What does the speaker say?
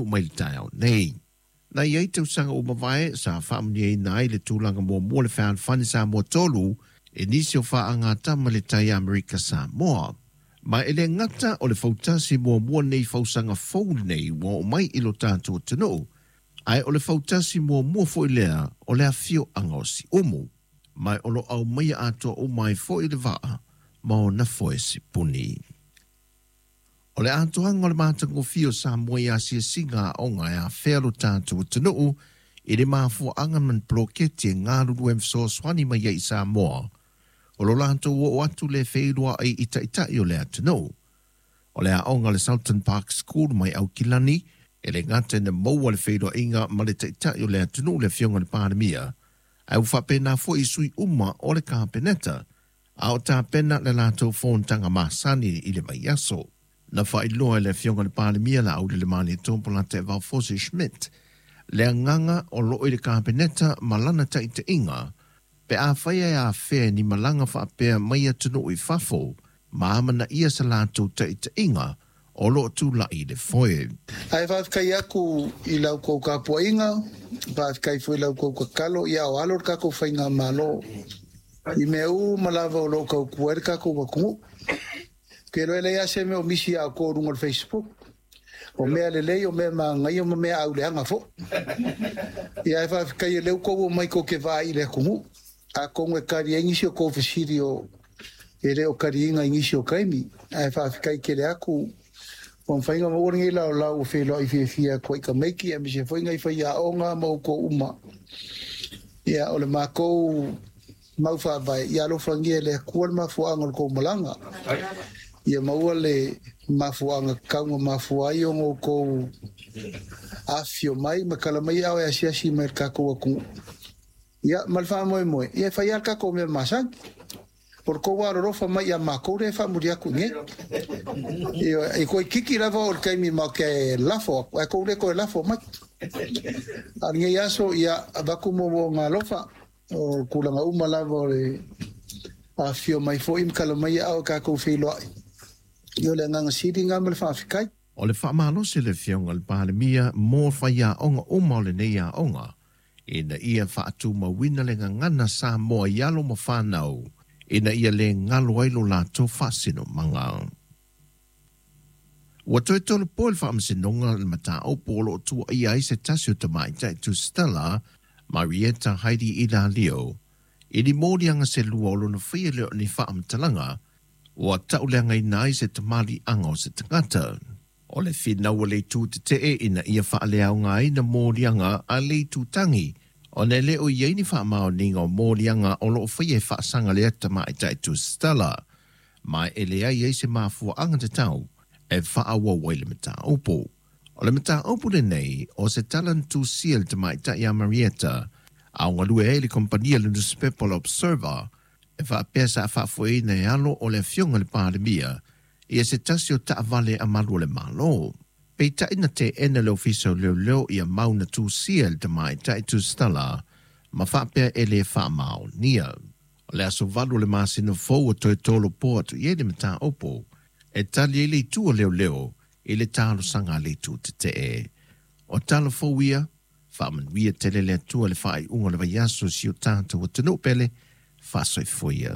mai le taeao nei. Na i ai tausaga ua mavae sa faamanuiaina ai le tulaga muamua le fealofani Samoa 3 e nisi o faagatama le tai Amerika Samoa. Ma e le gata o le fautasi muamua nei fausaga fou nei ua oo mai i lo tatou atunuu, ae o le fautasi muamua foi lea o le afioaga o Siumu. Ma o lo aumaia atoa uma ai foi le vaa ma ona foe sipuni. O le atoaga o le matagofie o Samoa i asiasiga aoga e afea lo tatou atunuu i le mafuaaga ma ni poloketi e galulue ma fesoasoani mai ai i Samoa, o lo latou oo atu le feiloai i taitai o le atunuu. O le aoga le Sultan Park School mai Aukilani, e le gata ina maua le feiloaiga ma le taitai o le atunuu le afioga i le Palemia, ae ua faapena foi i sui uma o le Kapeneta, a o tapena le latou fonotaga masani i le vaiaso. Na faailoa e le afioga i le Palemia Laaulialemalietoa Polataivao Fosi Schmidt le agaga o loo i le Kapeneta ma lana taitaiga pe afai e afea ni malaga faapea mai atunuu i fafo ma amanaia sa latou taitaiga o loo tulai le foe. Ae faafetai atu i la outou tapuaiga, faafetai foi i la outou tatalo, ia o alo le tatou faigamalo i mea uma lava o lo o tautua ai le tatou atunuu. Ou te iloa e leai lava se mea o misi ia outou i luga o le Facebook. O mea lelei, o mea manaia ma mea auleaga foi. Ia ae faafetai o lea ua outou omai tou te vaai i le atunuu. Atonu e tali ai nisi o tou fesili o e le o taliina i nisi o taimi. Ae faafetai tele atu ua mafai ona maua lenei laolao ua feiloai fiafia atu ai i tamaiti aemaise foi nai faiaoga ma outou uma. Ia o le matou mau faavae, ia alofagia e le Atua le mafuaaga o le tou malaga. Ia maua le mafuaaga tatau na mafua ai ona outou afifio mai ma tala mai aao e asiasi mai i le tatou atunuu. Ia, ma le faamoemoe, ia e fai lava le tatou mea masani. O le tou alolofa mai ia matou lea e faamuli atu i inei. Ioe, e toeitiiti lava oo i le taimi matou te lafo atu, ae tou le toe lafo mai. A o lenei aso, ia avatu moomooga alofa. O tulaga uma lava o le afifio mai foi ma tala mai aao e tatou feiloai. Ia o le agaga sili lena ma le faafetai. O le faamalosi le afioga i le Palemia mo faiaoga uma o lenei aoga ina ia faatumauina le gagana Samoa i alo ma fanau ina ia le galo ai lo latou faasinomaga. Ua toe tolopo le faamasinoga le mataupu o loo tuuaia ai se tasi o tamaitai Tusitala, Marieta Heidi Ilalio, i ni moliaga se lua o lona faia lea o ni faamatalaga ua tauleagaina ai se tamaliiaga o se tagata. O le finau a le itu tetee ina ia faaleaogaina moliaga a le itutagi, ona e le o i ai ni faamaoniga o moliaga o loo faia e faasaga lea tamaitai Tusitala, ma e leai ai se mafuaaga tatau e faaauau ai le mataupu. O le mataupu lenei o se tala na tusia le tamaitai ia Marieta a o galue ai le kompania le nusipepa o le Observer e faapea sa faafoeina e alo o le afioga i le Palemia ia se tasi o taavale a malu o le Malo. Peitai na teena le Ofisa o Leoleo ia mau na tusia e le tamaitai tusitala ma faapea e le faamaonia. O le aso 8 o le masina fou ua toe tolopo atu i ai le mataupu e tali ai le itu o leoleo i le talosaga a le itu tetee. O tala fou ia, faamanuia tele le Atua i le faaiuga o le vaiaso i si o tatou atunuu pele, faasoifua ia.